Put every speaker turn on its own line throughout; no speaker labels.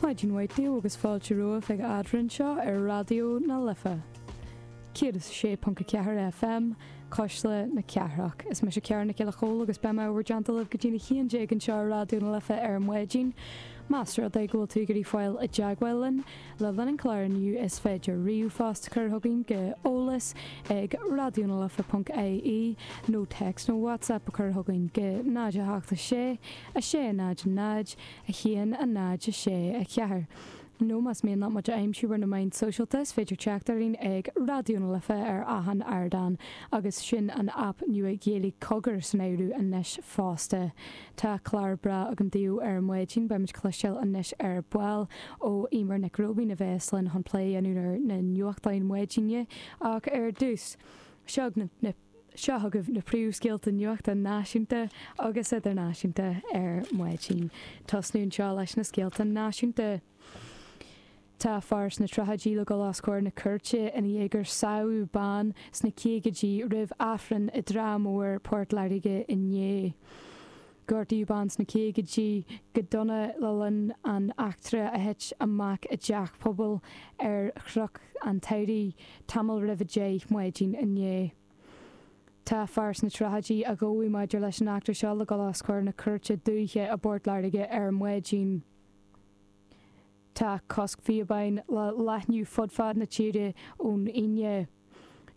Maidin mhaith daoibh agus fáilte romhaibh chuig Eadrainn anseo ar Raidió na Life 106.4 FM, Cuisle na Cathrach. Is mise Ciara Nic Giolla Chóill agus beidh mé i bhur dteannta libh go dtí'n 11 anseo ar Raidió na Life ar maidin. Más rud é go bhfuil tú ag iarraidh fáil i dteagmháil linn le linn an chláir inniu is féidir ríomhphost a chur chugainn go eolas ag raidionalife.ie nó téacs nó WhatsApp a chur chugainn go 0 8 6 6 0 0 1 0 6 4. Nó más mian leat muid a aimsiú ar na meáin sóisialta, is féidir teacht orainn ag Raidió na Life ar achan ardán, agus sin an aip nua Ghaeilge Cogar san áireamh anois fosta. Tá clár breá agam daoibh ar maidin, beimid ag cloisteáil anois ar ball ó Eimear Nic Róibín a bheas linn chun plé a dhéanamh ar na nuachtáin maidine, ach ar dtús, seo na. Seo chugaibh na príomhscéalta nuachta náisiúnta agus idirnáisiúnta ar maidin. Tosnú anseo leis na scéalta náisiúnta. Tá fear sna tríochaidí le dul os comhair na cúirte i ndiaidh gur sádh bean sna caogaidí roimh Aifreann i dTrá Mhór, Port Láirge inné. Gortaíodh bean sna caogaidí go dona le linn an eachtra a thit amach i dteach pobail ar Chnoc an tSamhraidh tamall roimh 10 maidin inné. Tá fear sna tríochaidí a gabhadh maidir leis an eachtra seo le dul os comhair na cúirte dúiche i bPort Láirge ar maidin. Tá cosc píobáin le leathnú fud fad na tíre ón Aoine.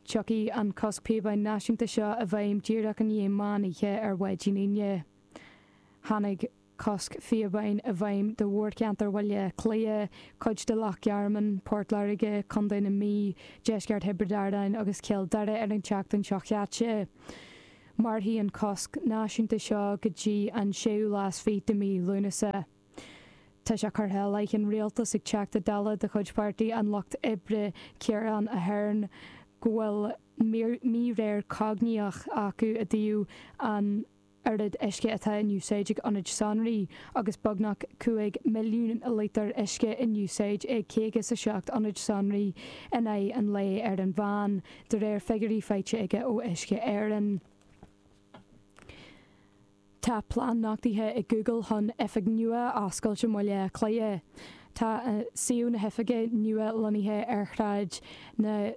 Tiocfaidh an cosc píobáin náisiúnta seo i bhfeidhm díreach i ndiaidh meán oíche ar mhaidin Aoine. Tháinig cosc phíobáin i bhfeidhm do mhórcheantar Bhaile Átha Cliath, cuid de Loch Garman, Port Láirge, Contae na Mí, deisceart Thiobraid Árann agus Cill Dara ar an tseachtain seo chaite. Mairfidh an cosc náisiúnta seo go dtí an séú lá is fiche de mhí Lúnasa. Tá sé curtha i leith an rialtais ag Teachta Dála de chuid Pháirtí an Lucht Oibre, Ciarán Ahern, go bhfuil míréir cognaíoch acu i dtaobh an oiread uisce atá in úsáid ag ionaid sonraí, agus beagnach 5 milliún líotar uisce in úsáid ag 57 ionad sonraí in aghaidh an lae ar an mheán, de réir figiúirí faighte aige ó Uisce Éireann. Tá plean nochtaithe ag Google chun oifig nua a oscailt i mBaile Átha Cliath. Tá suíomh na hoifige nua lonnaithe ar Shráid na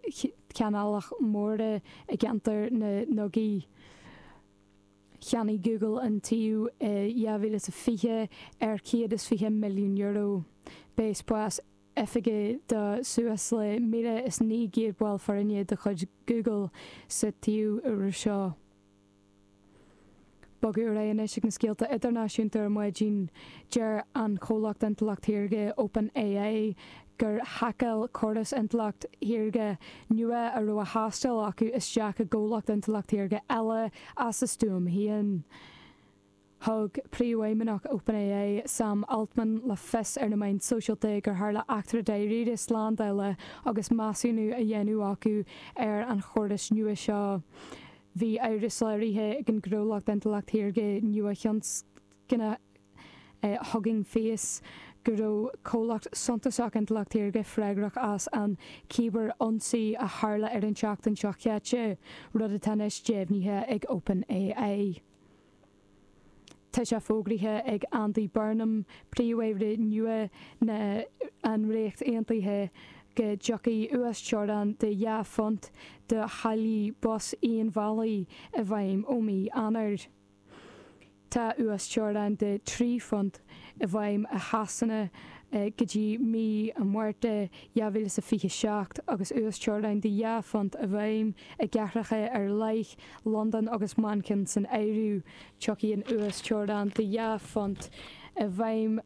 Canálach Móire i gceantar na nDugaí. Cheannaigh Google an tsuíomh i 2020 ar €120 milliún. Beidh spás oifige do suas le 1,900 ball foirne de chuid Google sa tsuíomh úr seo. Bogadh ar aghaidh anois ag na scéalta idirnáisiúnta ar maidin. Deir an comhlacht intleacht shaorga OpenAI gur haiceáil córas intleacht shaorga nua a raibh á thástáil acu isteach i gcomhlacht intleacht shaorga eile as a stuaim féin. Thug príomhfheidhmeannach OpenAI, Sam Altman, le fios ar na meáin sóisialta gur tharla eachtra dáiríre slándála agus measúnú á dhéanamh acu ar an chóras nua seo. Bhí amhras léirithe ag an gcomhlacht intleacht shaorga nua-thionscanta Hugging Face go raibh comhlacht suntasach intleacht shaorga freagrach as an cíbear-ionsaí a tharla ar an tseachtain seo caite, rud atá anois deimhnithe ag OpenAI. Tá sé fógraithe ag Andy Burnham, Príomh-Aire nua na an Ríocht Aontaithe, go dtiocfaidh uasteorainn de £2 do tháillí bus aon-bhealaigh i bhfeidhm ó mí Eanáir. Tá uasteorainn de £3 i bhfeidhm i Shasana go dtí mí an Mhárta 2027 agus uasteorainn de £2 i bhfeidhm i gcathracha ar leith, Londain agus Manchain san áireamh. Tiocfaidh an uasteorainn de £2 i bhfeidhm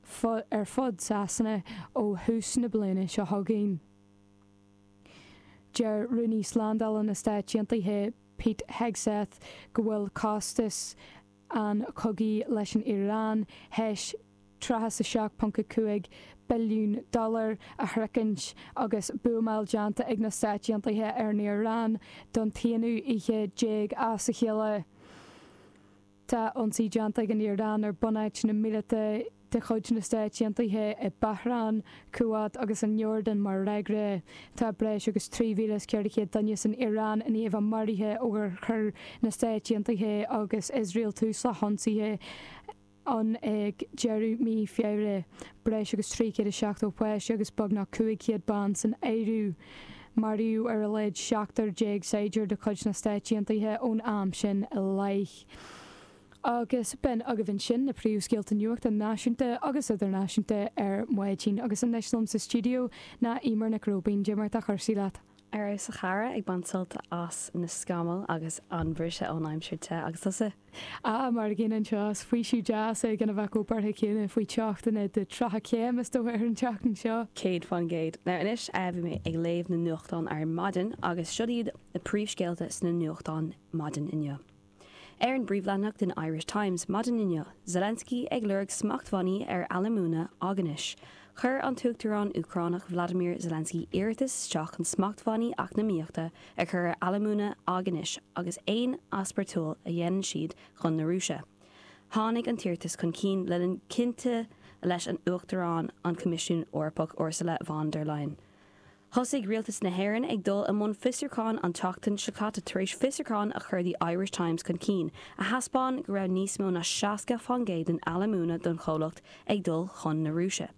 ar fud Shasana ó thús na bliana seo chugainn. Deir Rúnaí Slándála na Stáit Aontaithe Pete Hegseth go bhfuil costas an chogaidh leis an Iaráin théis $37.5 billiún a shroichint agus buamáil déanta ag na Stáit Aontaithe ar an Iaráin don t-aonú oíche déag as a chéile. Tá ionsaí déanta ag an Iaráin ar bunáiteanna míleata de chuid na Stáit Aontaithe i Bahrain, Kuwait agus an Iordáin mar fhreagra. Tá breis agus 3,400 duine san Iaráin i ndiaidh a bheith maraithe ó gur chuir na Stáit Aontaithe agus Iosrael tús le hionsaithe. ann ag deireadh mí Feabhra, breis agus 370 páiste agus beagnach 500 bean san áireamh. Maraíodh ar a laghad 17 saighdiúir de chuid na Stáit Aontaithe ón am sin i leith. Agus b'in agaibh ansin na príomhscéalta nuachta náisiúnta agus idirnáisiúnta ar maidin. Agus anois liom sa stiúideo ná Eimear Nic Róibín. Cad é mar atá cúrsaí leat?
Ar fheabhas a chara, ag baint sult as na scamaill agus an briseadh ón aimsir te. Agus tusa?
Ah, mar an gcéanna anseo. Is faoiseamh deas é gan a bheith chomh buartha céanna faoi teochtanna de 30 céim is dócha ar an tseachtain seo.
100%. Now anois, bhí mé ag léamh na nuachtán ar maidin agus siod iad na príomhscéalta sna nuachtáin maidin inniu. Ar an bpríomhleathanach den Irish Times maidin inniu, Zelensky ag lorg smachtbhannaí ar alúmana aighnis. Chuir an tUachtarán Úcránach Vladimir Zelensky iarratas isteach chun smachtbhannaí eacnamaíochta a chur ar alúmana aighnis agus aon easpórtáil a dhéanann siad chun na Rúise. Tháinig an t-iarratas chun cinn le linn cainte leis an Uachtarán an Choimisiúin Eorpach Ursula von der Leyen. Thosaigh Rialtas na hÉireann ag dul i mbun fiosrúcháin an tseachtain seo caite tar éis fiosrúchán a chuir The Irish Times chun cinn a thaispeáin go raibh níos mó ná 60% den alúmana don chomhlacht ag dul chun na Rúise.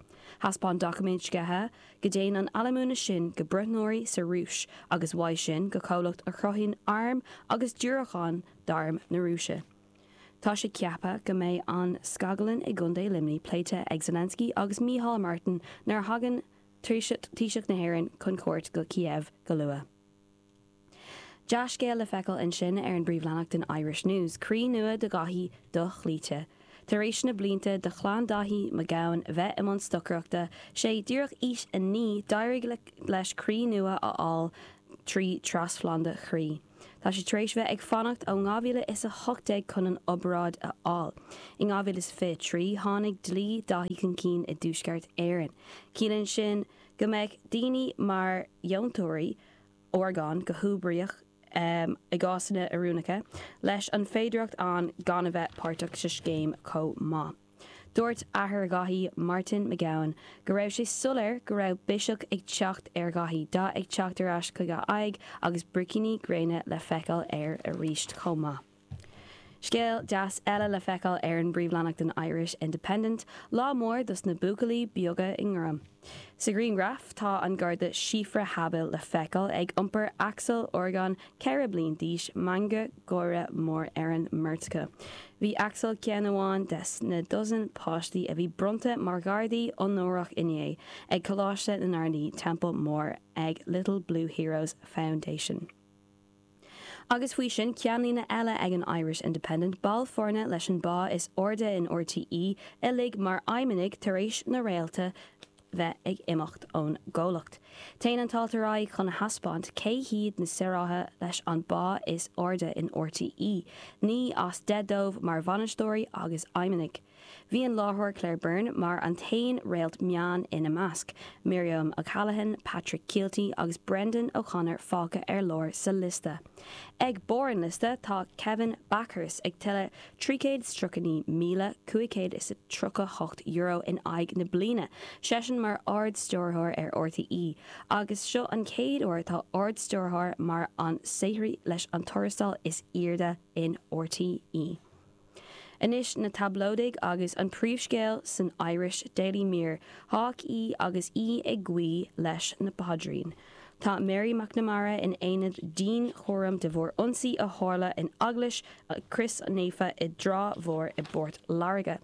Thaispeáin doiciméid sceithe go dtéann an alúmana sin go bruithneoirí sa Rúis agus uaidh sin go comhlacht a chruthaíonn airm agus diúracáin d'arm na Rúise. Tá sé ceaptha go mbeidh an scaglann i gContae Luimnigh pléite ag Zelensky agus Micheál Martin nuair a thagann Taoiseach na hÉireann chun cuairt go Kiev go luath. Dea-scéal le feiceáil ansin ar an bpríomhleathanach den Irish News, croí nua do Dhaithí dochloíte. Tar éis na blianta do chlann Daithí McGowan bheith i mbun stocaireachta, sé díreach aois a 9, d'éirigh leis croí nua a fháil trí trasphlandáil chroí. Tá sé tar éis bheith ag fanacht ó 2018 chun an obráid a fháil. In 2023, tháinig dlí Daithí chun cinn i dTuaisceart Éireann. Ciallaíonn sin go mbeidh daoine mar dheontóirí orgán go huathoibríoch i gcásanna oiriúnacha, leis an féidearthacht ann gan a bheith páirteach sa scéim chomh maith. Dúirt athair Dhaithí, Martin McGowan, go raibh sé soiléir go raibh biseach ag teacht ar Dhaithí, dath ag teacht ar ais chuig a aghaidh agus bricíní gréine le feiceáil air arís chomh maith. Scéal deas eile le feiceáil ar an bpríomhleathanach den Irish Independent, lá mór dos na buachaillí beaga i nGaillimh. Sa ghrianghraf, tá an Garda Síofra Habill le feiceáil ag iompar Axel Horgan, 4 bliain d'aois, meangadh gáire mór ar an mbeirt acu. Bhí Axel ceann amháin des na dosaen páistí a bhí bronnta mar Ghardaí Onórach inné ag Coláiste na nGardaí, Teampall Mór ag Little Blue Heroes Foundation. Agus faoi sin, ceannlíne eile ag an Irish Independent, baill foirne leis an bpá is airde in RTÉ uilig mar fheidhmeannaigh tar éis na réalta bheith ag imeacht ón gcomhlacht. Téann an t-alt ar aghaidh chun a thaispeáint cé hiad na saothraithe leis an bpá is airde in RTÉ, 9 as 10 dóibh mar bhainisteoirí agus feidhmeannaigh. Bhí an láithreoir Claire Byrne mar an t-aon réalt meán ina measc, Miriam O'Callaghan, Patrick Kielty agus Brendan O'Connor fágtha ar lár sa liosta. Ag barr an liosta tá Kevin Bakhurst ag tuilleamh €339,538 in aghaidh na bliana, seisean mar Ard-Stiúrthóir ar RTÉ, agus seo an chéad uair atá Ard-Stiúrthóir mar an saothraí leis an tuarastal is airde in RTÉ. Anois na tablóidigh agus an príomhscéal san Irish Daily Mirror, Hawk í agus í ag guí leis na paidrín. Tá Mary McNamara in aonad dianchúraim de bharr ionsaí a tharla in Eaglais Chríost Naofa i dTrá Mhór i bPort Láirge.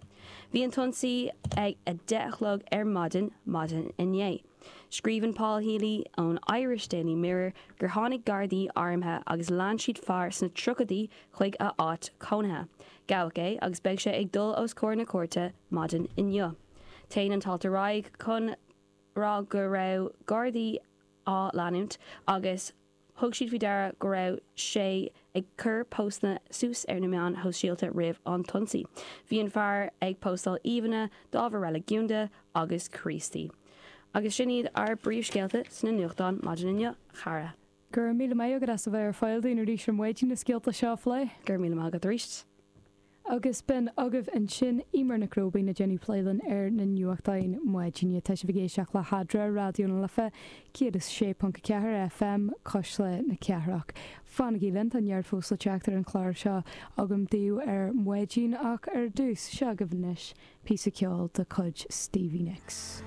Bhí an t-ionsaí ag 10 a chlog ar maidin, maidin inné. Scríobhann Paul Healy ón Irish Daily Mirror gur tháinig Gardaí armtha agus lean siad fear sna tríochaidí chuig a áit chónaithe. Gabhadh é agus beidh sé ag dul os comhair na cúirte maidin inniu. Téann an t-alt ar aghaidh chun rá go raibh Gardaí á leanúint agus thug siad faoi deara go raibh sé ag cur póstanna suas ar na meáin shóisialta roimh an t-ionsaí. Bhí an fear ag póstáil íomhánna d'ábhar reiligiúnda agus Críostaí. Agus sin iad ár bpríomhscéalta sna nuachtáin maidin inniu, a chara.
Go raibh míle maith agat as a bheith ar fáil dúinn arís ar maidin na scéalta seo a phlé.
Go raibh míle maith agat arís.
Agus b'in agaibh ansin Eimear Nic Róibín ag déanamh plé linn ar na nuachtáin maidine. Tá sibh ag éisteacht le hEadra, Raidió na Life 106.4 FM, Cuisle na Cathrach. Fanaigí linn, tá neart fós le teacht ar an chlár seo agam daoibh ar maidin ach ar dtús, seo agaibh anois píosa ceoil de chuid Stevie Nicks.